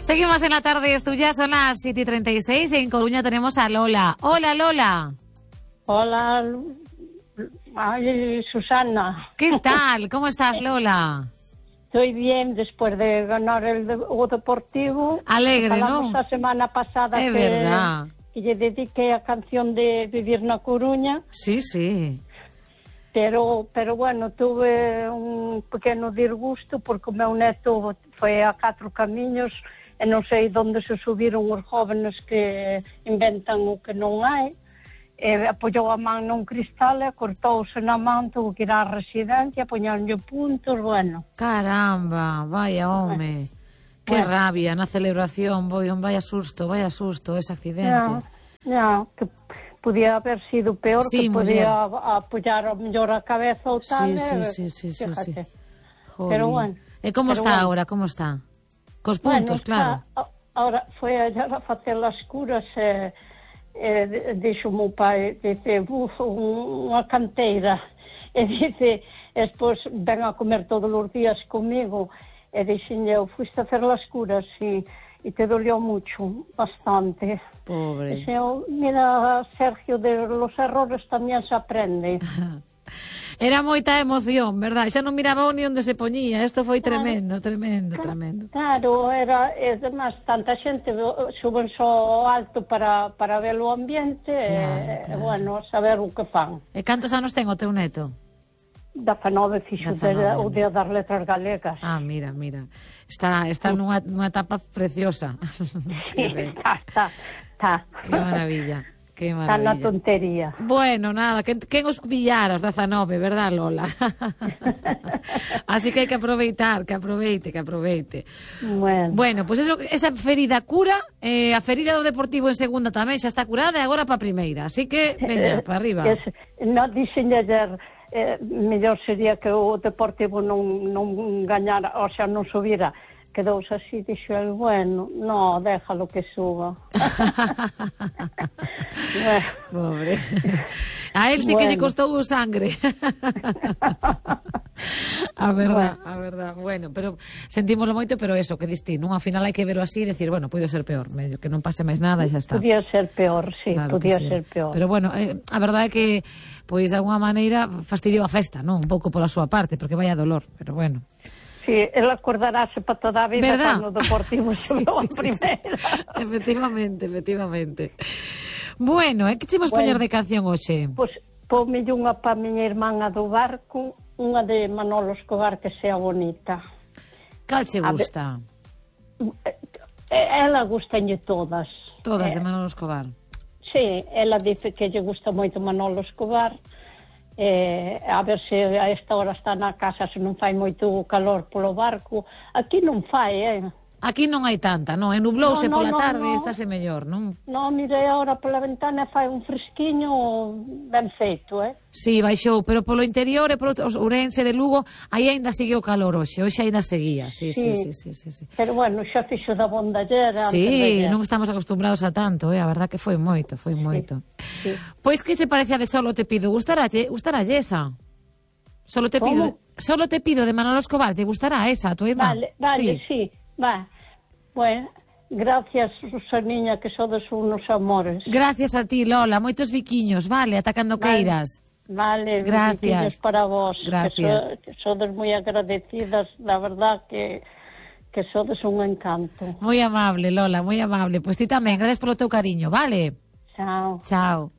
Seguimos en la tarde, esto ya son las 7:36 y en Coruña tenemos a Lola. Hola, Lola. Hola, ay, Susana. ¿Qué tal? ¿Cómo estás, Lola? Estoy bien después de ganar o Deportivo. Alegre, Falamos ¿no? a semana pasada Es verdad. que lle dediqué a canción de Vivir na Coruña. Sí, sí. Pero bueno, tuve un pequeno disgusto porque o meu neto foi a 4 camiños e non sei onde se subiron os jóvenes que inventan o que non hai. Apoyou a man nun cristal e cortouse na man, tuvo que ir á residencia, poñanlle puntos, bueno. Caramba, vaya home. Qué rabia na celebración, vaya susto ese accidente. No, que podía haber sido peor, sí, que podía apoyar mellor a cabeza ou tal. Sí. Pero bueno. E como está agora, como está? Cos puntos, claro. Ahora foi a facer as curas dixo o meu pai, dice, unha canteira, e dice, despois ven a comer todos os días comigo, e dixen eu, fuiste a hacer as curas e te dolió mucho, bastante. Pobre. Dice eu, mira, Sergio, de los errores tamén se aprende. Era moita emoción, verdad? Xa non miraba ni onde se poñía. Isto foi tremendo. Claro, era, además, tanta xente suben só alto para ver o ambiente, claro. Bueno, saber o que fan. E cantos anos ten o teu neto? 19 fixo o Día das Letras Galegas. Ah, mira. Está nunha etapa preciosa. Sí, está. Que maravilla. Está na tontería. Bueno, nada, quen os pillara os 19, verdad, Lola? Así que hai que aproveitar, que aproveite. Bueno, pues esa ferida cura, a ferida do Deportivo en segunda tamén xa está curada e agora para a primeira, así que, veña, para arriba. Non dixen ayer, mellor sería que o Deportivo non gañara, o sea, non subira. Quedouse así, dixo el, bueno, no, déjalo que suba. Pobre. A él sí que lle costou sangre. A verdad. Bueno, pero sentímoslo moito, pero eso, que distí, nunha final hai que verlo así e decir, bueno, pode ser peor, que non pase máis nada e xa está. Podía ser peor, sí, claro, podía ser peor. Pero bueno, a verdade é que, pois, de alguna maneira, fastidiou a festa, non? Un pouco pola súa parte, porque vai a dolor, pero bueno. Sí, él acordarase para toda a vida cando o Deportivo xogou a primeira. Efectivamente. Bueno, que chemos poñer de canción hoxe? Pois pomelle unha pa miña irmán do barco, unha de Manolo Escobar que sea bonita. Cal che gusta? Ela gustanlle todas. Todas de Manolo Escobar? Sí, ela dice que lle gusta moito Manolo Escobar. A ver se a esta hora está na casa, se non fai moito calor polo barco. Aquí non fai, Aquí non hai tanta, non? Nublouse pola tarde, estáse mellor, non? Non, mire, agora pola ventana fai un fresquiño ben feito, Sí, baixou, pero polo interior e polo Ourense de Lugo, aí ainda sigue o calor hoxe ainda seguía, sí. Pero bueno, xa fixo da bondallera. Sí, non estamos acostumbrados a tanto, a verdad que foi moito. Sí. Pois que che parece a de Solo te pido? Gustaralle esa? Solo te pido de Manolo Escobar, te gustará esa, a tua irmá? Vale, sí. Va, bueno, gracias, Susaniña, que sodes unos amores. Gracias a ti, Lola, moitos biquiños, vale, ata cando queiras. Vale, gracias. Biquiños para vos. Gracias. Que sodes moi agradecidas, la verdad que sodes un encanto. Moi amable, Lola, moi amable. Pois ti tamén, gracias polo teu cariño, vale? Chao. Chao.